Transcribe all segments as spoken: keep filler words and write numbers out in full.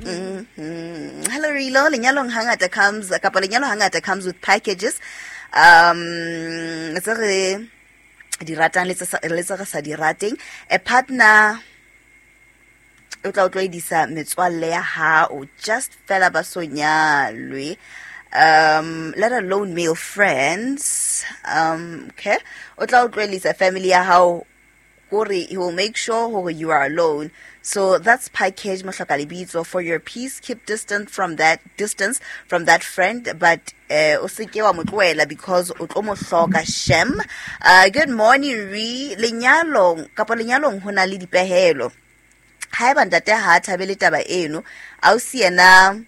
Mm-hmm. Hello Rilo, lenyalong hangata comes kapa lenyalo hangata comes with packages. Um tse re di ratang le tse sa- le tse re sa di rateng. A partner o tla o tlwaedisa metswalle ya hao just fela ba so nyalwe, um let alone male friends. um okay o tla o tlwaedisa family ya hao, kore he will make sure hore you are alone. So that's package, mohloka lebitso. For your peace, keep distant from that distance from that friend, but uh, o seke wa mo tlohela because o tlo mo hloka shem. uh, good morning re lenyalong kapa lenyalong ho na le dipehelo. Haeba ntate ha a thabele taba eno, ausi yena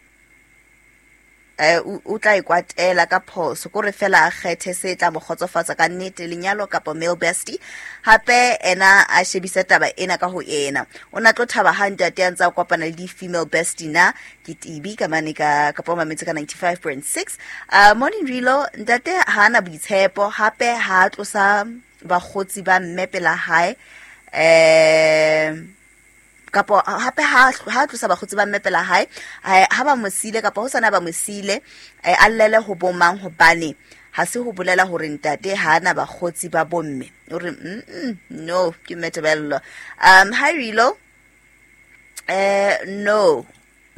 eh o o tla e kwatela ka phoso, kore fela a kgethe se tla mo kgotsofatsa ka nnete, lenyalo kapa male bestie. Hape ena a shebise taba ena ka ho ena, o na tlo thaba ha ntate a ntse a kopana le di-female bestie na? Ke Tibi ka mane ka kapa o mametse ka ninety-five point six. uh, morning Rilo, ntate ha ana boitshepo, hape ha a tlosa bakgotsi ba mme pela hae, um kapo hape ha ha tlosa bakgotsi ba mme pela hae, eh, ha ba mo siile kapa ho sana ba mo siile, eh, a llele ho bomang? Hobane ha se ho bolela hore ntate ha ana bakgotsi ba bomme. O re mm, mm, no, ke Metebello. um hi Rilo, eh no,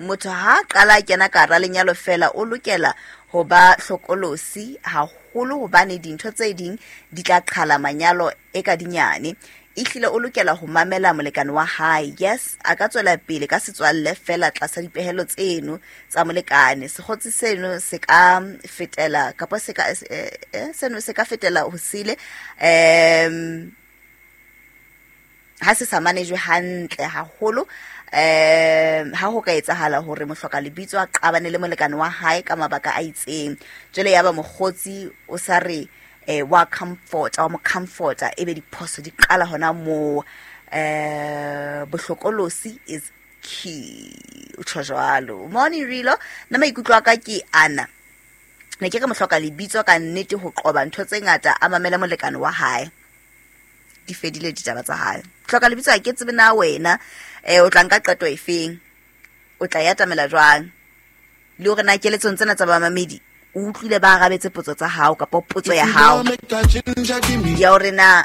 motho ha a qala a kena ka hara lenyalo fela, o lokela ho ba hlokolosi haholo, hobane dintho tse ding di tla qhala manyalo e ka dinyane. Ehlile o lokela ho mamela molekane wa hae. Yes, a ka tswela pele ka setswalle fela tlasa dipehelo tseno tsa molekane. Sekgotsi seno se ka fetela kapa se ka eh, eh, seno se ka fetela ho sele um ha se sa manejwe hantle haholo. um ha ho ka etsahala hore mohloka lebitso a qabane le molekane wa hae ka mabaka a itseng, jwale ya ba mokgotsi o sa re eh, wa comfort wa mo comforta, ebe diphoso di qala hona moo. eh bohlokolosi is key, o tjho jwalo. Morning Rilo, nna maikutlo a ka ke ana, ne ke re mohloka lebitso ka nnete, ho qoba ntho tse ngata, a mamele molekane wa hae, di fedile ditaba tsa hae. Hloka lebitso, ha ke tsebe na wena um o tla nka qeto efeng, o tla e atamela jwang, le hore na keletsong tsena tsa bamamedi o utlwile ba arabetse potso tsa hao kapa potso ya hao ya hore na